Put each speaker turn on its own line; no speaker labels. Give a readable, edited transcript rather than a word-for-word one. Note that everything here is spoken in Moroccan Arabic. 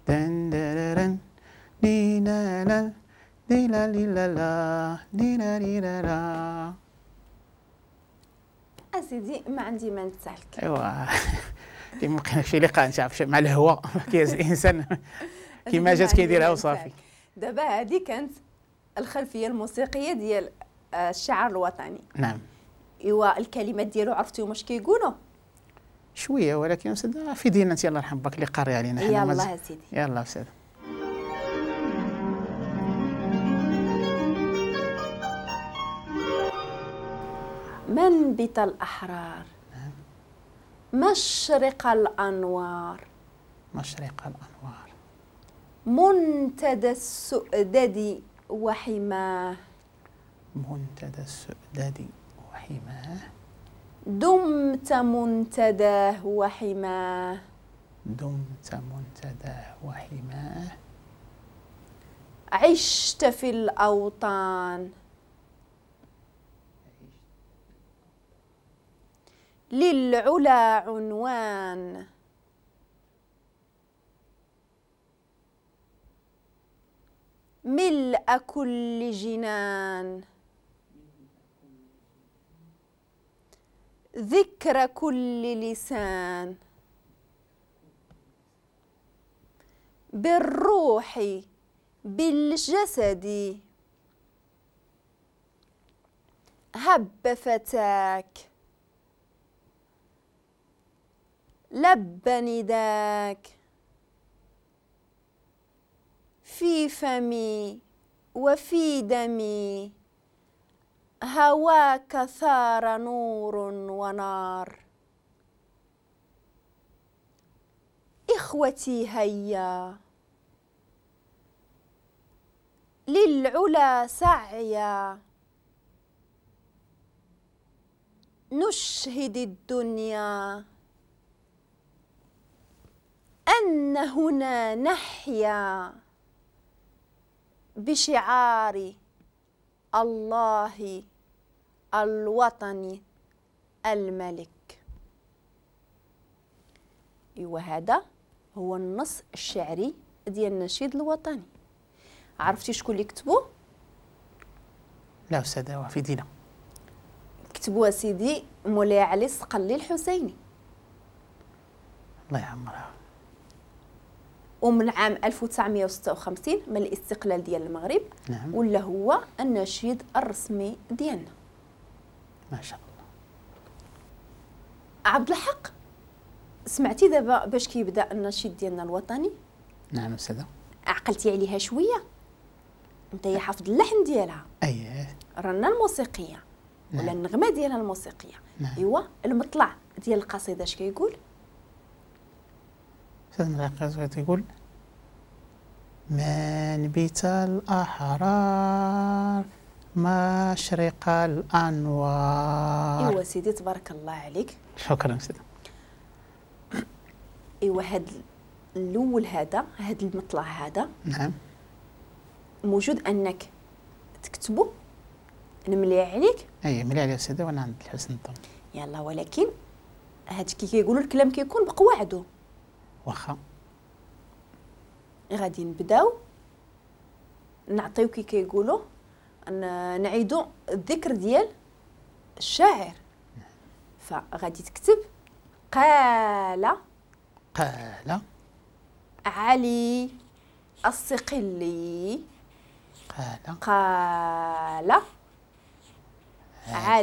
دن درن دي لا لا دي لا لي لا لا دي لا لي لا لا.
اسيدي ما عندي ما نتسالك.
ايوا كيما شي لقاء انت عارف مع الهواء كيهز الانسان كيما جات كيديرها وصافي.
دابا هذه كانت الخلفية الموسيقية ديال الشعار الوطني.
نعم.
ايوا الكلمات ديالو عرفتيهم واش كيقولوا؟
شوية، ولكن استاذ في دينا انت الله يرحم باك اللي قاري علينا.
يلاه سيدي.
يلاه استاذ.
منبت الأحرار.
نعم.
مشرق الأنوار.
مشرق الأنوار.
منتدى السؤدد وحماه.
منتدى السؤدد وحماه.
دمت منتداه وحماه.
دمت منتداه وحماه.
عشت في الأوطان. للعلا عنوان. ملء كل جنان. ذكر كل لسان. بالروح بالجسد. هب فتاك. لب نداك. في فمي وفي دمي. هواك ثار نور ونار. إخوتي هيا. للعلا سعيا. نشهد الدنيا أن هنا نحيا بشعار الله الوطني الملك. إيوا هذا هو النص الشعري ديال النشيد الوطني. عرفتي شكون اللي كتبو؟
لا أستاذة في دينا.
كتبوه سيدي مولاي علي الصقلي الحسيني.
الله يعمرها.
ومن عام 1956 من الاستقلال ديال المغرب.
نعم.
ولا هو النشيد الرسمي ديالنا.
ما شاء الله.
عبد الحق، سمعتي دابا باش كيبدا النشيد ديالنا الوطني؟
نعم أستاذة.
عقلتي عليها شوية؟ انت يا حافظ اللحن ديالها.
اييه.
رنا الموسيقية.
نعم.
ولا النغمة ديالها الموسيقية.
نعم.
ايوا المطلع ديال القصيدة اش كيقول؟
أستاذ القصيدة تيقول: منبت الأحرار مشرق الأنوار.
ايوا سيدي تبارك الله عليك.
شكرا سيدي.
ايوا هاد الاول هذا، هاد المطلع هذا.
نعم.
موجود انك تكتبو نملي عليك.
اي ملي عليا سيدي وانا عند الحسن الظن.
يلا، ولكن هاد كي كيقولوا الكلام كيكون بقواعده.
واخا.
غادي نبداو نعطيو كي كيقولوا نعيدو الذكر ديال الشاعر. فغادي تكتب: قال
قال
علي الصقلي.
قال
قال علي